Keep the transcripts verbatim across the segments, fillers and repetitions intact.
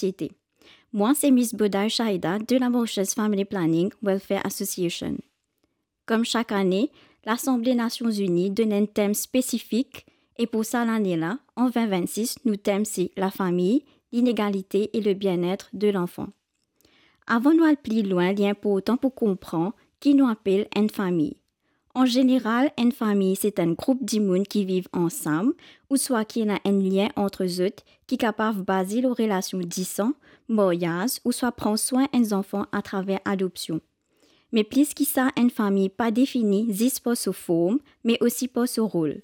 sosiete. Mwa se Miss Boday Shaida de la Mauritius Family Planning Welfare Association. Kom sak ane, Lasanble Nasion Ini donn enn tem spesifik e pou sa lane la, an vin vinn-sis, nou tem se lafami, linegalite e le bienetre de lanfan. Avan nou al pli lwin, li inportan pou konpran ki nou apel enn fami. An zeneral, enn fami se enn group dimoun ki viv ansam ouswa ki ena enn lien ant zot ki kapav baze lor relasion disan, maryaz ouswa pran swin enn zanfan atraver adopsion. Me plis ki sa, enn fami pa defini zis par so form, me osi par so rol.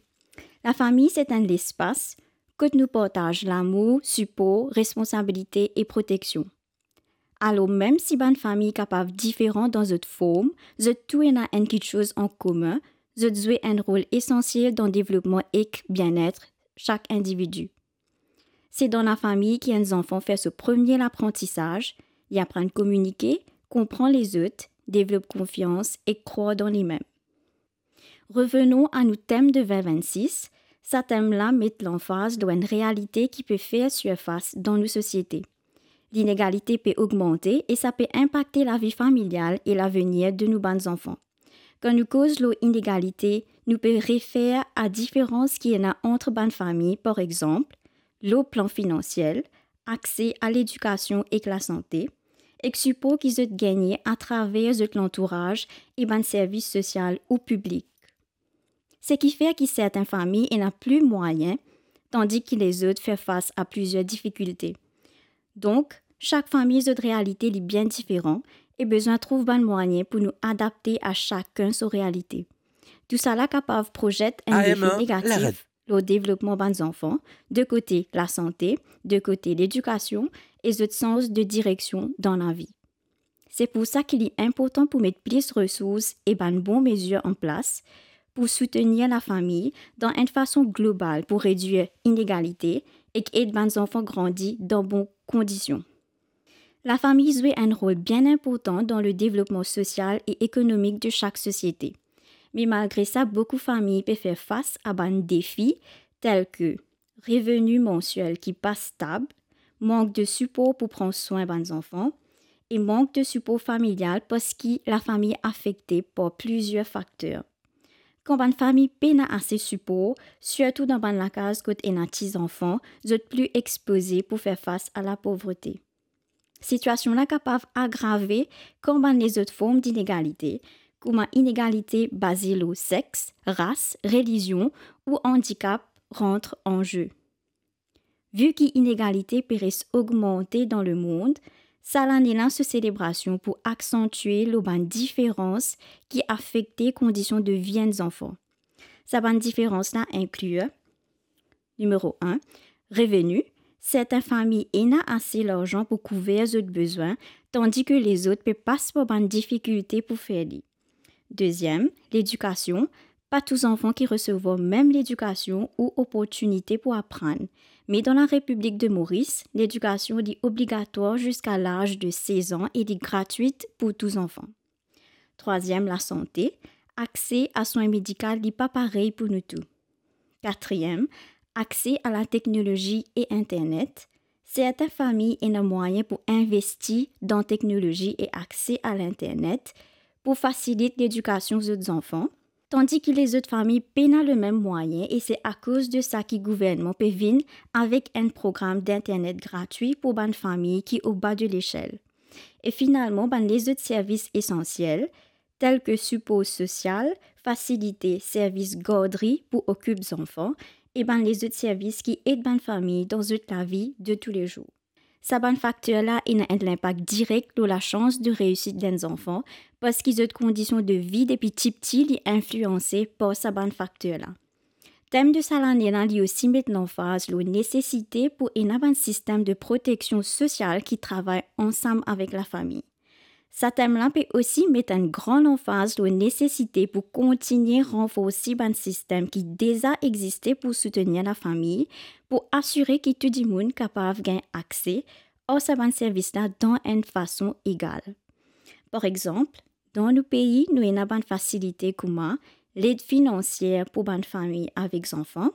Lafami se enn lespas kot nou partaz lamour, sipor, responsabilite e proteksion. Alor, mem si bann fami kapav diferan dan zot form, zot tou ena enn kiksoz an komin, zot zwe enn rol esansiel dan devlopman ek bienetre sak individi. Se dan lafami ki enn zanfan fer so premie laprantisaz, li aprann kominike, konpran lezot, devlop konfians ek krwar dan limem. Revenon a nou tem de vin vinn-sis, sa tem la met lanfaz lor enn realite ki pe fer sirfas dan nou sosiete. Linegalite pe ogmante e sa pe inpakte lavi familial e lavenir de nou bann zanfan. Kan nou koz lor inegalite, nou pe refer a diferans ki ena ant bann fami, par exanp, lor plan finansiel, akse a ledikasion ek lasante, ek sipor ki zot gagne atraver zot lantouraz e bann servis sosial ou piblik. Seki fer ki sertin fami ena pli mwayin, tandi ki lezot fer fas a plizier difikilte. Donk, sak fami zot realite li bien diferan e bizin trouv bann mwayin pou nou adapte a sakenn so realite. Tousala kapav prozet enn lefe negatif lor devlopman bann zanfan, de kote lasante, de kote ledikasion e zot sans de direksion dan lavi. Se pou sa ki li inportan pou met plis resours e bann bon mezir an plas pou soutenir lafami dan enn fason global pou redwir inegalite ek ed bann zanfan grandi dan bon kondision. Lafami zwe enn rol bien inportan dan le devlopman sosial e ekonomik de sak sosiete. Me malgre sa, boukou fami pe fer fas a bann defi tel ke reveni mansiel ki pa stab, mank de sipor pou pran swin bann zanfan e mank de sipor familial parski lafami afekte par plizier fakter. Kan bann fami pena ase sipor, sirtou dan bann lakaz kot ena ti zanfan, zot pli expoze pou fer fas a lapovrete. Sitiasion la kapav agrave kan bann lezot form dinegalite, kouma inegalite baze lor sex, ras, relizion ou andikap rant an ze. Vi ki inegalite pe res ogmante dan lemond, sa lane la so selebrasion pou aksantie lor bann diferans ki afekte kondision de vi enn zanfan. Sa bann diferans la inklir: nimero enn, reveni. Sertin fami ena ase larzan pou kouver zot bizin, tandi ki lezot pe pas par bann difikilte pou fer li. Deziem, ledikasion. Pa tou zanfan ki resevwar mem ledikasion ou oportinite pou aprann. Me dan Larepiblik de Moris, ledikasion li obligatwar ziska laz de sez an e li gratwit pou tou zanfan. Trwaziem, lasante. Akse a swin medikal li pa parey pou nou tou. Katriem, akse a lateknolozi e internet. Sertin fami ena mwayin pou investi dan teknolozi e akse a linternet pou fasilit ledikasion zot zanfan, tandi ki lezot fami pena lemem mwayin, e se akoz de sa ki gouvernman pe vinn avek enn program d'internet gratwi pou bann fami ki oba de lesel. E finalman, bann lezot servis esansiel, tel ki sipor sosial, fasilite servis gardri pou okip zanfan, e bann lezot servis ki ed bann fami dan zot lavi de toulezour. Sa bann fakter la ena enn linpak direk lor lasans de reisit enn zanfan, parski zot kondision de vi depi tipti li inflianse par sa bann fakter la. Tem de sa lane la, li osi met lanfaz lor nesesite pou ena bann sistem de proteksion sosial ki travay ansam avek lafami. Sa tem la pe osi met enn gran lanfaz lor nesesite pou kontigne ranforsi bann sistem ki deza existe pou soutenir lafami, pou asire ki tou dimoun kapav gagn akse ar sa bann servis la dan enn fason egal. Par exanp, dan nou pei, nou ena bann fasilite kouma led finansier pou bann fami avek zanfan,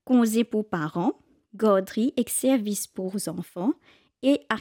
konze pou paran, gardri ek servis pou zanfan, e